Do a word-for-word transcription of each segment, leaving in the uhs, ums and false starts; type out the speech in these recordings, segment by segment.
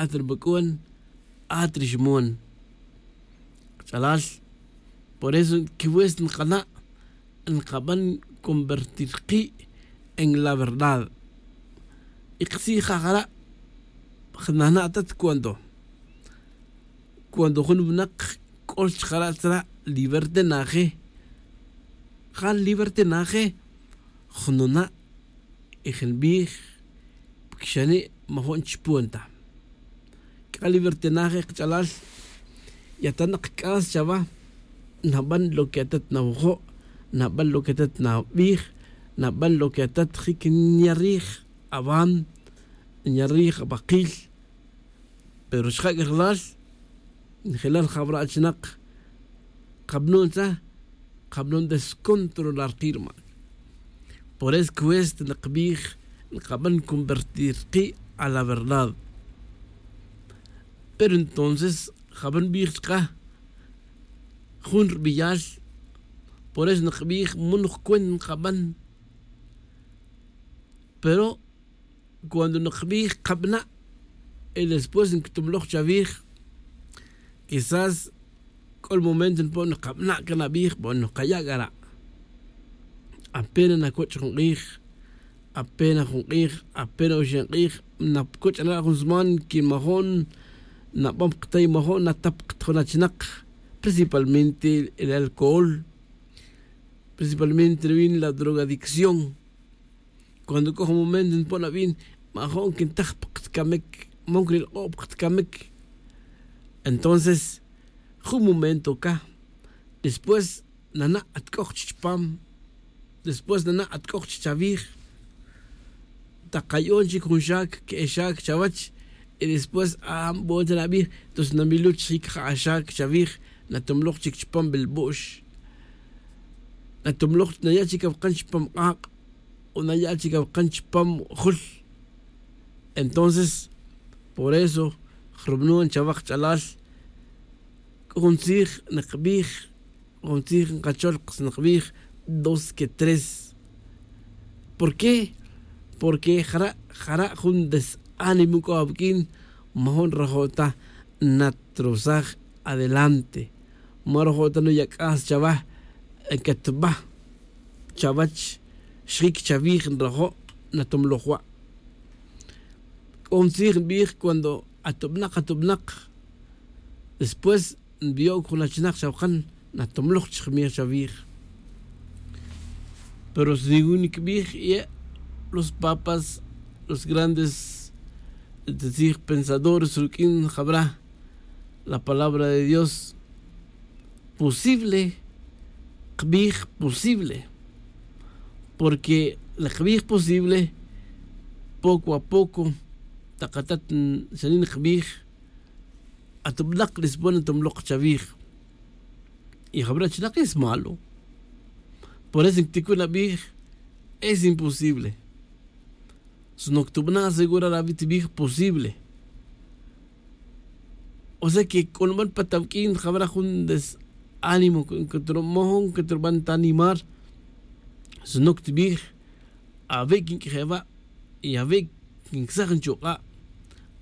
at ri bac'un, at ri xmon. Kach'alal, por eso quiwes nkana' nkaban convertir ki' en la verdad. Y ktzij ja jara' jnana' tat cuando cuando jun winak c'ol chkara' tzra' libertinaje. Ja libertinaje jnuna' y jnbij pkixani' majo'n chpun ta. C'a libertinaje kach'alal yatanak c'as chawa. Naban lo que atat nawajo', naban lo que atat nabij, naban lo que atat jic nyarij awam, nyarij awakil. Pero xja' k'ajelal njelal jawra' achinak kabnun tza, kabnun descontrolar ki' rma. Por eso cuesta nkbij nkaban convertir ki' a la verdad. Pero entonces jaban nbij chka jun rbiyal. Por eso nkbij mun jcuent nkaban. Pero cuando nkbij kabna' y después nctumloj chawij, quizás c'o ri momento npo' nkabna' can abij, bueno, kaya' cara'. Apena nacoch' jun k'ij, apena jun k'ij, apena oxin k'ij, nacoch' na jun sman que majo'n nabam kata y majo'n natap kata jun achinak, principalmente el alcohol, principalmente ri win la drogadicción. Cuando c'o jun momento npo' nabin, majo'n quintaj pa katcamic, mon quinilk'o' pa katcamic. Entonces jun momento ca después nana' at c'o chi chpam, después nana' at c'o chi chawij. Takay'on chic jun xac que'e xac chawech y después a nbon ta nabij. Entonces namiluch jic ja axac chawij, natumloj chic chpam bilbu'x, natumloj naya' chic awkan chpam k'ak', o naya' chic awkan chpam jul. Entonces por eso jrubnon chawa kach'alal c'o jun tzij nkbij, jun tzij nkachol nkbij dos que tres. ¿Por qué? Porque jara' jara' jun desánimo c'o awuq'uin. Majo'n rajo' ta natrosaj adelante, marojo' ta nuya' c'as chawa. Catba chawech, xjic chawij nrajo', natumloj wa'. C'o jun tzij nbij cuando atubnak atubnak, después nbiyo'c jun achinak chawakan, natumloj chijmij chawij. Pero si nicbij y los papas, los grandes tzij pensadores ruq'uin jabra la palabra de Dios, posible kbij posible. Porque la kbij posible poco a poco, tak atat xanin kbij, atubnak dispone tumlok chawij. Y jabra' chinak es malo. Por eso ticun abij, es imposible. Sino que tubana' segura ravit tibij posible. O sea que c'o nuban pa tawq'uin jabra' jun desánimo que turban ta animar. Sino que tibij, awe' quinq'ueje' wa' y awe' quincsaj nchuk'a',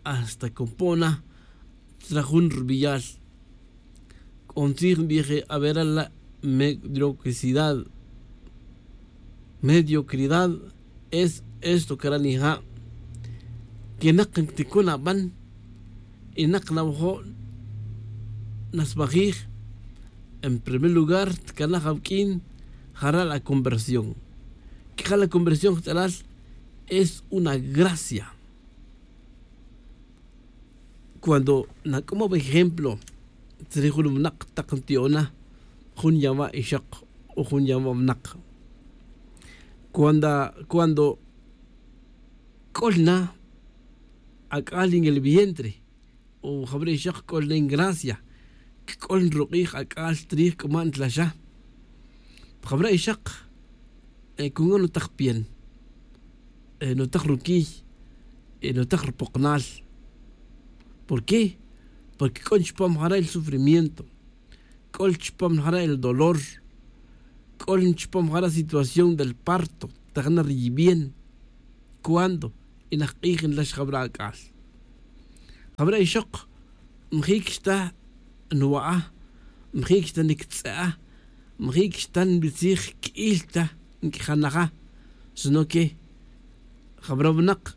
hasta que npo' na tzra jun rubiyal. C'o ntzij nbije awe' ra la' mediocridad. Mediocridad es esto que ra' nija', que nak ticun aban y nak nawajo' nasmajij. En primer lugar tcanaj awq'uin jara' la conversión. Que ja la conversión kach'alal es una gracia. Cuando nac'umob ejemplo tzrij jun winak tak nti'ona, jun yawa' ixak o jun yawa' winak, cuando cuando c'ol na ac'al en el vientre o jabra' ixak c'ol na en gracia, c'ol nruk'ij ac'al tzrij c'uma' ntlaxa. Jabra' ixak cunga' nutak piel, nutak ruquiy, nutak rupoknal. ¿Por qué? Porque c'o chupam jara' el sufrimiento, c'o chupam jara' el dolor, c'o chupam jara' situación del parto. Tajna ri bien cuando y nak k'ij nlax jabra' ac'al. Jabra' ixoq, majic xta nwa'a, majic xta nictz'e'a, majic xta nbitzij quil ta nicjanaja, sino que jabra' winak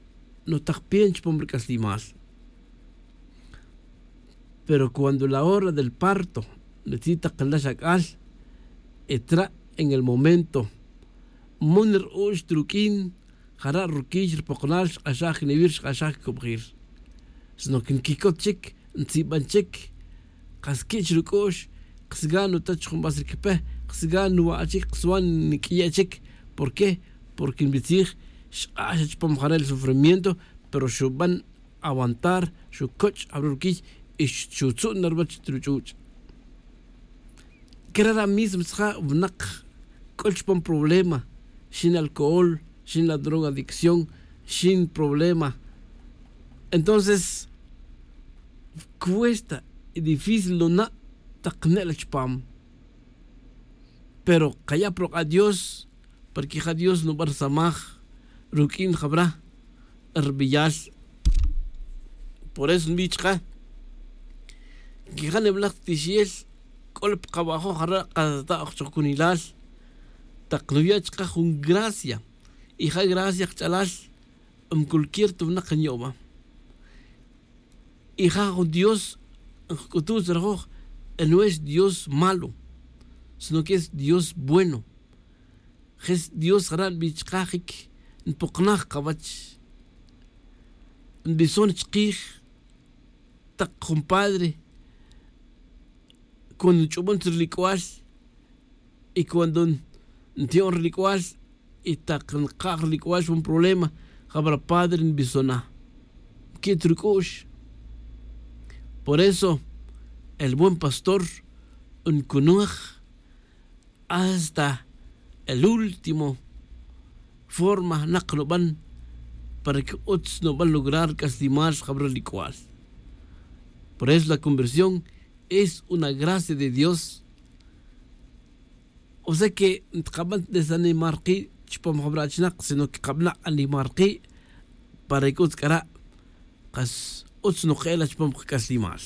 nutak piench pom ric'aslimal. Pero cuando la hora del parto, nitzi' tak nlax ac'al, e tra' en el momento, mon r'u'x ta ruq'uin, jara' ruquix ripoknal xk'axaj cnewir xk'axaj cubjir. Sino que nquicot chic, ntziban chic, kas quich' ruc'u'x, kasgan nuta chujunbas riquipe, kasgan nuwa'a chic, kaswan niq'uiye' chic. ¿Por qué? Porque nbitzij, xk'ax chupam jare' el sufrimiento, pero xuban aguantar, xucoch' jabra' ruquiy, y xutzu'n na ruwech ta ruch'uch'. Querara' mismo tzja winak c'ul chupam problema, xin alcohol, xin la droga adicción, xin problema. Entonces cuesta y difícil nuna' tak ne' la chupam. Pero kaya' pa ruk'a' Dios, porque ja Dios nuban rsamaj ruq'uin jabra' rbeyal. Por eso nbij chka, quija' nibalaj ta tixiel c'o la pa kawa'joj jara' kata' oj chok cunilal, tak nuya' chka jun gracia, y ja gracia kach'alal, en cualquier ta winak nyo'ba. Y ja jun Dios nkc'utuj tzrajoj, no es Dios malo, sino que es Dios bueno. Je' dios jara' nbij chka jic npoknaj kawech. Nbison chkij tak jun padre cuando nch'ubon rilic'ual, y cuando nti'on rilic'ual, y tak nkaj rilic'ual chupam problema, jabra' padre nbison na, nqui't ruc'u'x. Por eso el buen pastor ncunaj hasta el último forma nak nuban para que utz nuban lograr c'aslimal jabra' rilic'ual. Por eso la conversión es una gracia de Dios. O sea que ntkaban ta desanimar ki' chupam jabra' achinak, sino que kabana' animar ki' para que utz c'ara' kas utz nuke'el chupam kac'aslimal.